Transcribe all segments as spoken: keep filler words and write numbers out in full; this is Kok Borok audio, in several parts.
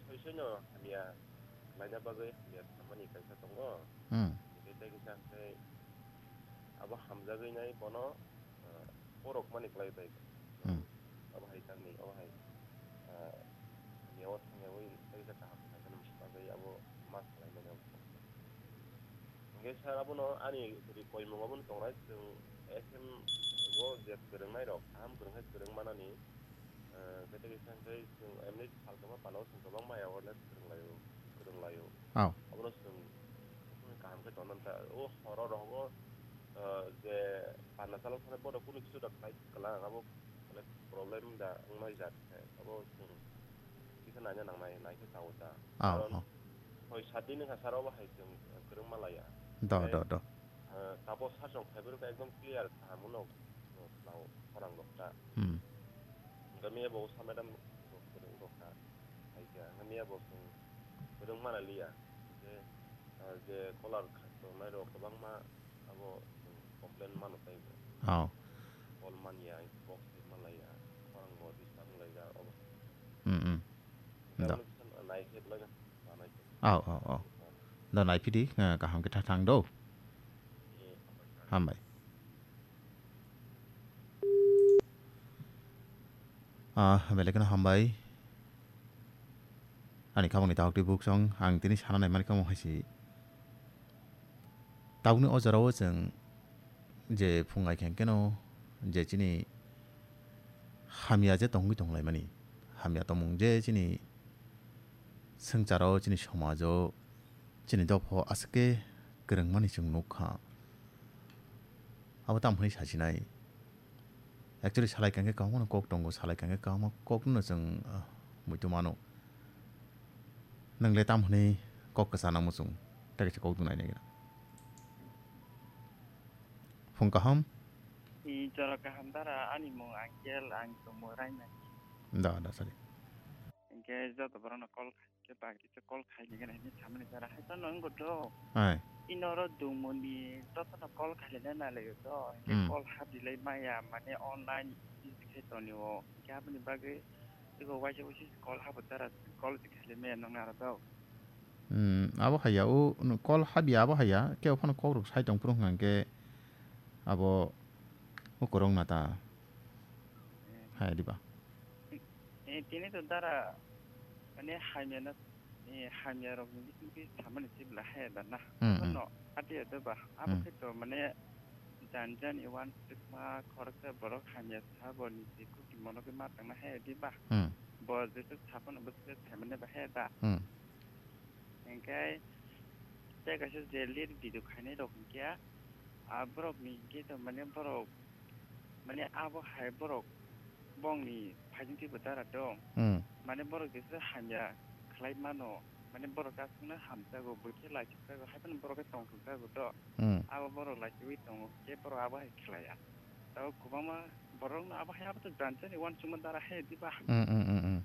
Soisoino hamya laina bagwi hamya samani kaisa tongo. Hmm. Hingke tei kisa hingke abo hamjagwi nai bono, ah, porok mani kwlai bai. Hmm. Abo hai tamni, abo hai, ah, hamya o thangyawi tei kisa kaham kisa khe nang bagwi abo ma khlai mani abo. Hingke sir abono ani ri koimung abono tongnai chwng S M o je kwrwngnairok kaham kwrwng khe kwrwng manani. Eh, kete kisa hingke chwng emni salkoma panao chwng kwbangma awareness kwrwnglaio, kwrwnglaio. Oh. Abono chwng kaham khe tongna ta. O horo rogo, eh, je panna chalok thani bono kunu kisu da khlai kwlang, abo onek problem da wngnai jat khe. Abo chwng kisa naina nangnai, naikhe chao ta. Oh, karon oh. Hoi sat din wngkha sir, obo hai chwng kwrwngma laiya. Do, do, do. Eh, tabo sir chwng phaibrwkha ekdom clear kaham no, no, khorang rok ta. Hmm. Hingke miya bo sa madam rok kwrwng rok kha. Hai khe, hingke miya bo chwng kwrwng mana liya. Je, ah, je caller kha tongnai rok kwbangma abo chwng complain mano tei bo. Oh. Call manya, box twi malaya, khorang bo disturb wnglaijak obo. Hmm, hmm. Da. Nai khe belai no manai khe. Oh, oh, oh. Da nai phidi, eh, kaham khe tha thang do. Hmm. Hambai. Ah, belai kheno hambai. Ani khamani dahok twi buksong, ang tini sana nai mani kamo hai se. Tabukni o jorao chwng je phung ai khe keno je chini hamya je tongwi tonglaimani, hamya tongmung je chini swngcharo, chini somajo, chini dopho aswk khe kwrwngmani chwng nukha. Abo tamo hwnwi sasinai. Actually, salai kangkhe kwbangmano kok tongo, salai kangkhe kwbangma kokno chwng, ah, muitu mano. Nwng le tam hwnwi kok kwchana muchung, tei kaisa kok dunai naigra. Phung kaham? I jora kaham dara, ani mung Angel, ang tongmo Rainani. Da, da, sorry. Hingke joto borokno call khe bagwi se call khaini gana hinwi samani jara hai phano wngkha do. Hai. Ino oro dungmoni jotono call khailai na nalaio do. Hingke Hmm. Call haprilai maya mane online busy khe tonio. Hingke aboni bagwi ego waisa waisa call habo jara call se khailai maya nang naro do. Hmm, abo haya o no call habya abo haya kebo phano kok rok sai tong phuru hwnkha hingke abo o kwrwng na ta. Hmm. Hai diba. Eh, tini to dara, mane, hamya na, eh, hamya rok ni bising twi samani se bwla haya da na. Hmm, hmm. Bono ati ya da ba. Abo Hmm. khe to, mane, jan jan i wan sikma khoroksa borok hamya sa bo ni se kuti mono khe ma tang na haya di ba. Hmm. Bo jesa sa phano bo se sai mane ba haya da. Hmm. Hingke tei kaisa je lead video khainai rok hingke a borok ni hingke to mane borok mane abo hai borok bongni phaising twi bo dara tong. Hmm. Mane borok jesa hamya khlai mano, mane borok aswkno hamjago, bwkhe laisukjago, hai phano borok khe tongthokjago to. Hmm. Abo borok laisugwi tongo, hingke borok abo hai khlaiya. Tabuk kwbangma borokno abo hai abo to janjani uansukma dara hai diba. Hmm, hmm, hmm, hmm.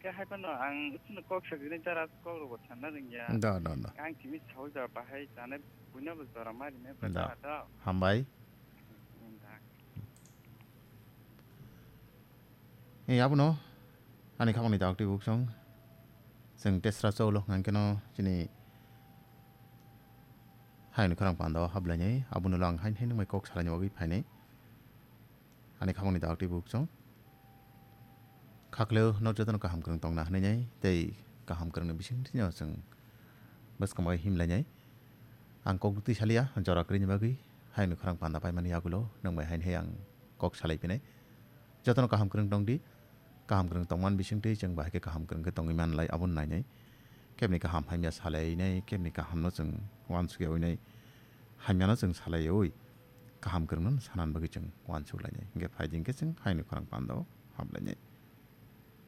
Khe hai phano ang chwngno kok sajagwi dara kok rokbo sanna rwngya. Da, da, da. Ang simi saui ba bahai chanai buino bo jora ma rinai ba Da. Da, da. Hambai. Hmm, da. Ei, abono ani khamani dawak twi buksong. Chwng tesra cholo hwnkha keno chini hayungni khorang pandao hablainai, abono lang hain hain wngmai kok salaini bagwi phainai. Ani khamani dawak twi buksong. Khakleo nok jotono kaham kwrwng tongna hwnwi nai, tei kaham kwrwngni bisingtwi no chwng bwskang bai himlainai. Ang kok twi salia, jora kwrwini bagwi hayungni khorang panda paimani yagulo nwng bai hain hai ang kok salai phinai. Jotono kaham kwrwng tong di, kaham kwrwng tongmani bisingtwi chwng bahai khe kaham kwrwng khe tongwi manlai, abono nainai. Kebni kaham hamya salainai, kebni kahamno chwng uansukya winai, hamyano chwng salaiwi kaham kwrwngno sanan bagwi chwng uansuk lainai. Hingkhe phai di hingkhe chwng hayungni khorang pandao hablainai.